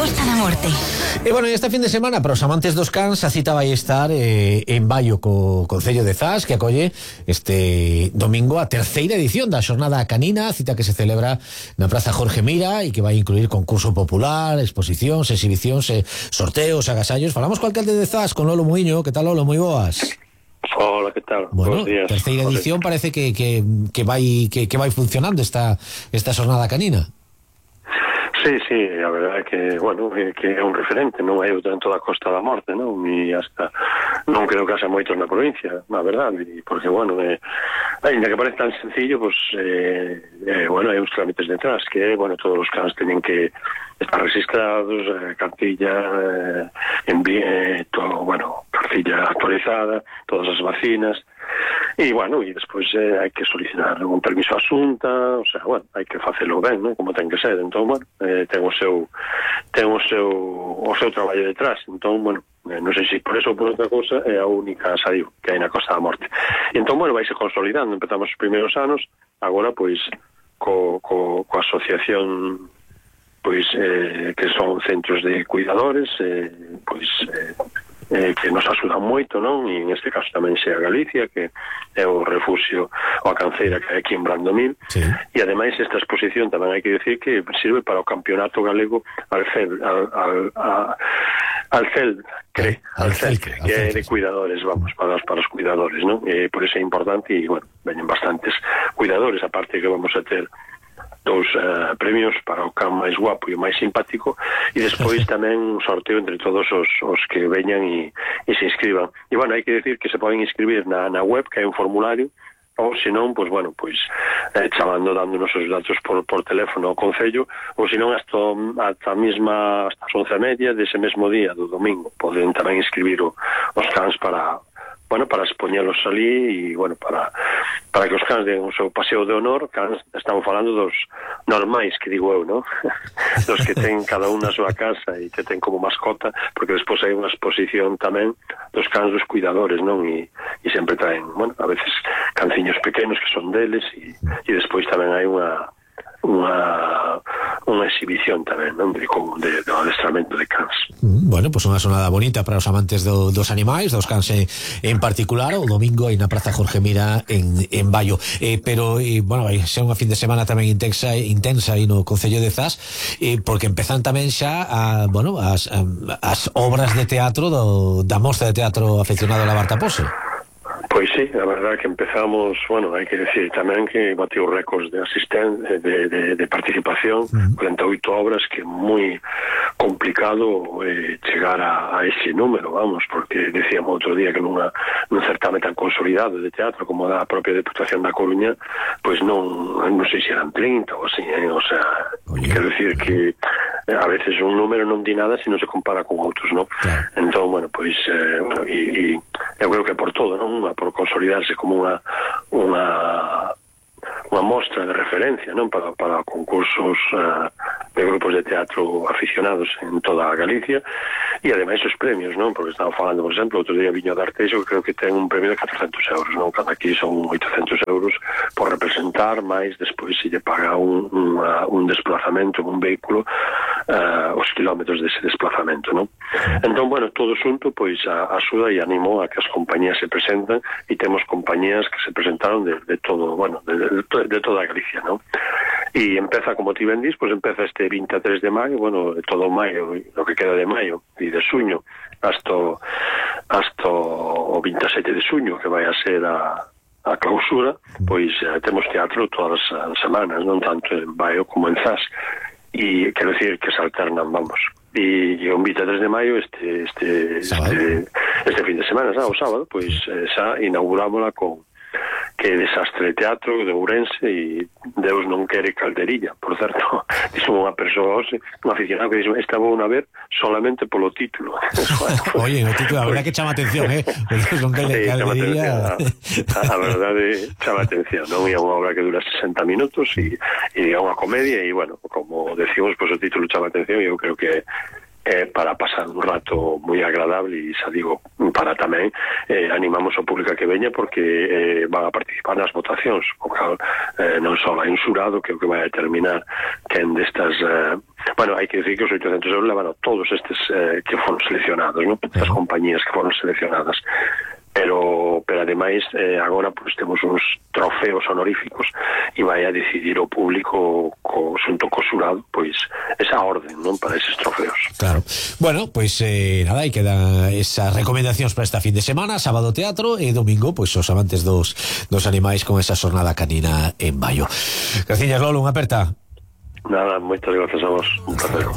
Costa da Morte. E bueno, este fin de semana para os amantes dos cans a cita vai estar en Baio co Concello de Zas, que acolle este domingo a terceira edición da Xornada Canina, cita que se celebra na Praza Jorge Mira e que vai incluir concurso popular, exposicións, exhibicións, sorteos, agasallos. Falamos co alcalde de Zas, con Lolo Muiño. Que tal, Lolo? Moi boas. Hola, ¿qué tal? Bueno, buenos días. Terceira edición, parece que vai funcionando esta Xornada Canina. Sí, a verdade é que, bueno, que é un referente, non é dentro da Costa da Morte, non? E hasta non creo que haxa moitos na provincia, na verdade, porque, bueno, ainda que parece tan sencillo, pues, bueno, hai uns trámites detrás, que, bueno, todos os cans teñen que estar registrados, cartilla, todo, bueno, cartilla actualizada, todas as vacinas, e, bueno, e despois hai que solicitar un permiso á Xunta, o sea, bueno, hai que facelo ben, non? Como ten que ser, entón, bueno, ten o seu traballo detrás, entón, bueno, non sei se por eso ou por outra cousa é a única, xa digo, que hai na Costa da Morte. E entón, bueno, vaise consolidando, empezamos os primeiros anos, agora, pois, coa asociación, pois, que son centros de cuidadores, pois, que nos axudan moito, non? E en este caso tamén xa Galicia, que é o refugio ou a canceira que hai aquí en Brandomil. Sí. E ademais esta exposición tamén hai que decir que sirve para o campeonato galego Alcel, que é de cuidadores, vamos, para os cuidadores, non? Por eso é importante e, bueno, veñen bastantes cuidadores, aparte que vamos a ter dous premios para o can máis guapo e o máis simpático, e despois tamén un sorteo entre todos os que veñan e se inscriban. E, bueno, hai que decir que se poden inscribir na web, que hai un formulario, ou senón, pois, bueno, pois chamando, dándonos os datos por teléfono ao Concello, ou senón hasta as 11:30 dese mesmo día, do domingo, poden tamén inscribir os cans para expoñelos ali e, bueno, para que os cans den o seu paseo de honor. Cans, estamos falando dos normais, que digo eu, non? Dos que ten cada un na súa casa e que ten como mascota, porque despois hai unha exposición tamén dos cans dos cuidadores, non? E sempre traen, bueno, a veces canciños pequenos que son deles e despois tamén hai unha exhibición tamén, non? Do adestramento de cans. Bueno, pues unha xornada bonita para os amantes dos animais, dos cans en particular, o domingo aí na Praza Jorge Mira en Baio. Pero, bueno, vai ser unha fin de semana tamén intensa aí no Concello de Zas, porque empezan tamén xa as obras de teatro da Mostra de Teatro Afeccionado a la Barta Pose. Pois sí, a verdade que empezamos, bueno, hai que decir tamén que bateu récords de asistencia, de participación, 48 obras, que é moi complicado chegar a ese número, vamos, porque decíamos outro día que nun certame tan consolidado de teatro como da propia Deputación da Coruña, pois non sei se eran 30 ou así, o sea, quero decir que a veces un número non di nada se non se compara con outros, non? Claro. Entón, bueno, pois, e eu creo que por todo, non? Por consolidarse como unha mostra de referencia, non? Para concursos de grupos de teatro aficionados en toda a Galicia, e ademais os premios, non? Porque estaba falando, por exemplo, outro día Viño de Arteixo, que creo que ten un premio de 400 euros, non? Cada aquí son 800 euros por representar, máis despois se lle paga un desplazamento, un vehículo, os kilómetros dese desplazamento, non? Entón, bueno, todo xunto, pois, axuda e animou a que as compañías se presentan, e temos compañías que se presentaron de todo, bueno, de toda a Galicia, non? E empeza, como ti ben dis, pois empeza este 23 de maio, bueno, todo maio, lo que queda de maio e de suño, hasta o 27 de suño, que vai a ser a clausura, pois temos teatro todas as semanas, non tanto en Baio como en Zas, e quero decir que se alternan, vamos. E o 23 de maio este fin de semana, o sábado, pois xa inaugurámola con que desastre de teatro de Ourense, e Deus non quere calderilla, por certo. Dixo unha persoa, un aficionado, que dixo, esta vou a ver solamente polo título. Oye, o título, a verdade que chama atención, Deus non quere calderilla. A verdade chama atención, non? É unha obra que dura 60 minutos e é unha comedia, e, bueno, como decimos, pois o título chama atención, e eu creo que para pasar un rato moi agradable, e xa digo, para tamén animamos ao público a que veña, porque van a participar nas votacións, o cal non só hai un xurado que é o que vai a determinar quen destas bueno, hai que decir que os 800 euros levan a todos estes que foron seleccionados, non? Estas compañías que foron seleccionadas, pero ademais agora pues temos uns trofeos honoríficos e vai a decidir o público xunto co xurado pois esa orden, non, para eses trofeos. Claro. Bueno, pues nada, aí quedan esas recomendacións para esta fin de semana, sábado teatro e domingo pois os amantes dos animais con esa xornada canina en Baio. Graciñas, Lolo, unha aperta. Nada, moitas grazas a vos. Un placer, como